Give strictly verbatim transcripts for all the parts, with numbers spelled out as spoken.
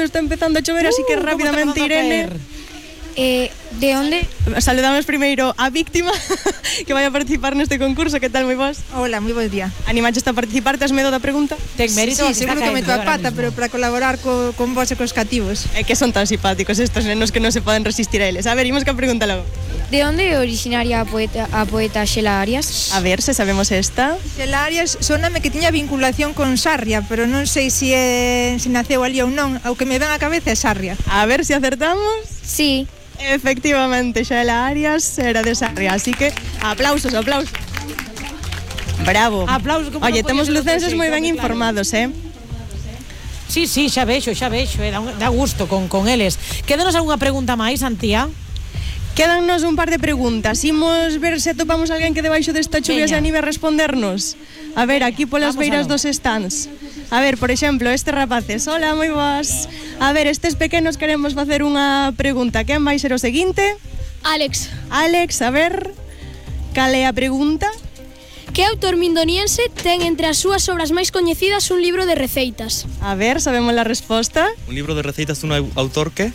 está empezando a chover, así que Uh, rápidamente, Irene. Eh, de onde? Saludamos primeiro a víctima que vai a participar neste concurso. Que tal, moi vos? Hola, moi bons días. Animaches a participar, tes medo da pregunta? Ten mérito. Sí, seguro que meto a pata, pero para colaborar co, con vos e cos cativos. É que son tan simpáticos estos nenos que non se poden resistir a eles. A ver, imos que pregunta logo. De onde é originaria a poeta, a poeta Xela Arias? A ver se sabemos esta. Xela Arias, soname que tiña vinculación con Sarria, pero non sei se, é, se naceu ali ou non. O que me ven á cabeza é Sarria. A ver se acertamos. Sí. Efectivamente, Xela Arias era de Sarria, así que aplausos, aplausos. Bravo. Aplausos. Como Oye, non temos podía ser lucenses outro moi xeito, ben claro. informados, eh? Sí, sí, xa vexo, xa vexo, eh, dá, dá gusto con, con eles. Quédanos algunha pregunta máis, Antía? Quédannos un par de preguntas. Imos ver se atopamos alguén que debaixo desta chuvia Veña. se anime a respondernos. A ver, aquí polas Vamos beiras aló. dos stands. A ver, por exemplo, estes rapaces. Hola, moi boas. A ver, estes pequenos queremos facer unha pregunta. Quen vai ser o seguinte? Alex, Alex, a ver, cal é a pregunta? que autor mindoniense ten entre as súas obras máis coñecidas un libro de receitas? A ver, sabemos a resposta. Un libro de receitas dun au- autor que?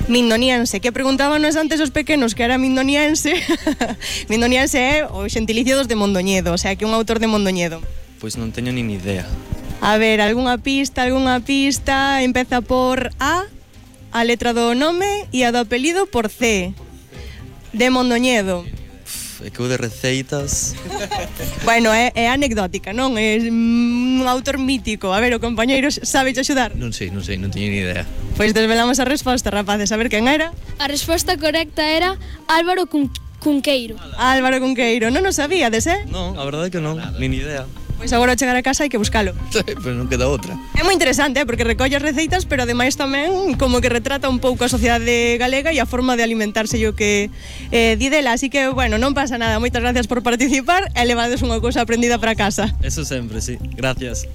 Mindoniense, que preguntábanos antes os pequenos que era mindoniense. Mindoniense é o xentilicio dos de Mondoñedo, o sea, que é un autor de Mondoñedo. Pois non teño nin idea. A ver, algunha pista, algunha pista. Empeza por A, a letra do nome, e a do apelido por C. De Mondoñedo. É que o de receitas... Bueno, é, é anecdótica, non? É mm, un autor mítico. A ver, o compañeiro sabe te axudar? Non sei, non sei, non teño ni idea. Pois desvelamos a resposta, rapaces. A ver quen era? A resposta correcta era Álvaro Cun Cunqueiro. Álvaro Cunqueiro. Non o sabíades, eh? Non, a verdade é que non, nin idea. Pois agora ao chegar a casa hai que buscalo. Pero non queda outra. É moi interesante, eh? Porque recolle as receitas, pero ademais tamén como que retrata un pouco a sociedade galega e a forma de alimentarse o que eh, di dela. Así que, bueno, non pasa nada. Moitas gracias por participar e levades unha cousa aprendida para casa. Eso sempre, sí. Gracias.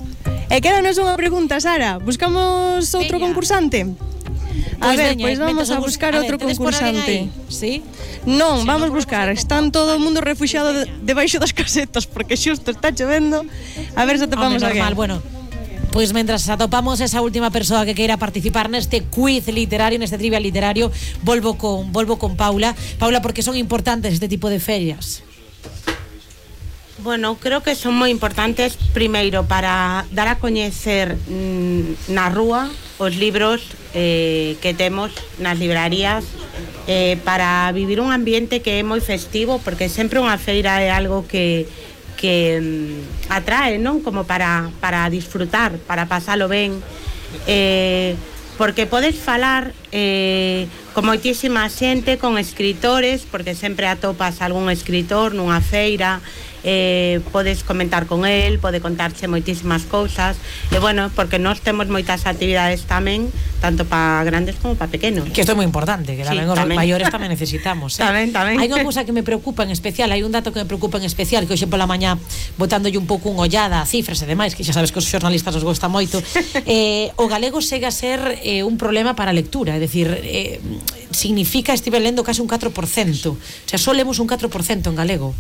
E quédanos unha pregunta, Sara. Buscamos outro Veña. concursante? A Pois ver, veña, pois vamos mentres a bus- buscar ver, outro tedes por alguén concursante. aí? Sí? Non, Se vamos non, buscar. volvemos a Están todo o mundo refuxiado de- debaixo das casetas porque xusto está chovendo. A ver se atopamos Home, alguén. normal, bueno. Pois mentras atopamos esa última persoa que queira participar neste quiz literario, neste trivial literario, volvo con volvo con Paula. Paula, porque son importantes este tipo de ferias? Bueno, creo que son moi importantes primeiro para dar a coñecer mm, na rúa os libros eh, que temos nas librarías, eh, para vivir un ambiente que é moi festivo, porque sempre unha feira é algo que que mm, atrae, non? Como para, para disfrutar, para pasalo ben, eh, porque podes falar eh, con moitísima xente, con escritores, porque sempre atopas algún escritor nunha feira, eh, podes comentar con el, pode contarche moitísimas cousas, e bueno, porque nós temos moitas actividades tamén, tanto para grandes como para pequenos. Que isto é moi importante, que Sí, tamén os tamén. maiores tamén necesitamos, eh? Tamén, tamén. Hai unha cousa que me preocupa en especial, hai un dato que me preocupa en especial, que hoxe pola mañá botándolle un pouco un ollada a cifras e demais, que xa sabes que os xornalistas nos gosta moito, eh, o galego segue a ser eh, un problema para a lectura, é dicir, eh, significa, estive lendo case un catro por cento, o sea, só lemos un catro por cento en galego.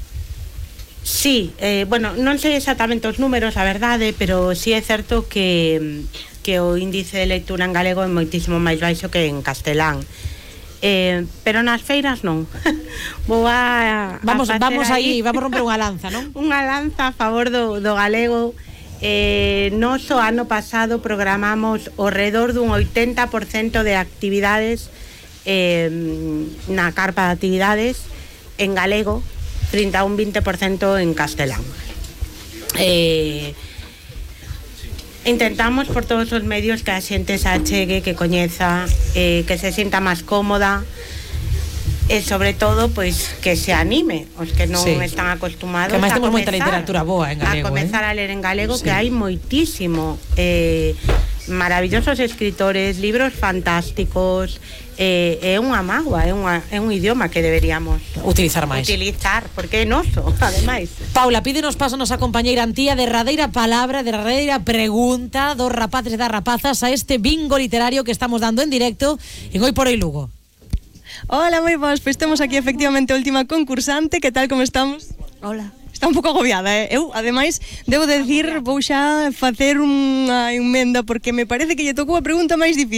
Sí, eh, bueno, non sei exactamente os números, a verdade, pero sí é certo que, que o índice de lectura en galego é moitísimo máis baixo que en castelán. Eh, pero nas feiras non. Vou a, Vamos, a facer vamos aí, vamos romper unha lanza, non? Unha lanza a favor do, do galego. Eh, nos o ano pasado programamos ao redor dun oitenta por cento de actividades eh, na carpa de actividades en galego, frente a un veinte por cento en castelán. Eh, intentamos por todos os medios que a xente se achegue, que coñeza, eh, que se sinta máis cómoda, e sobre todo pois que se anime os que non Sí. están acostumados Que máis a temos moita comezar, literatura boa en galego, a comezar eh? a ler en galego, Sí. que hai moitísimo, eh, maravillosos escritores, libros fantásticos, eh, é unha mágoa, é, unha, é un idioma que deberíamos Utilizar máis. utilizar, porque é noso, ademais. Paula, pídenos paso a nosa compañeira Antía, derradeira palabra, derradeira pregunta dos rapaces e das rapazas a este bingo literario que estamos dando en directo en Hoy por Hoy Lugo. Hola, moi boas. Pois temos aquí efectivamente a última concursante. Que tal, como estamos? Hola. Está un pouco agobiada, eh? Eu, ademais, debo decir, vou xa facer unha emenda porque me parece que lle tocou a pregunta máis difícil.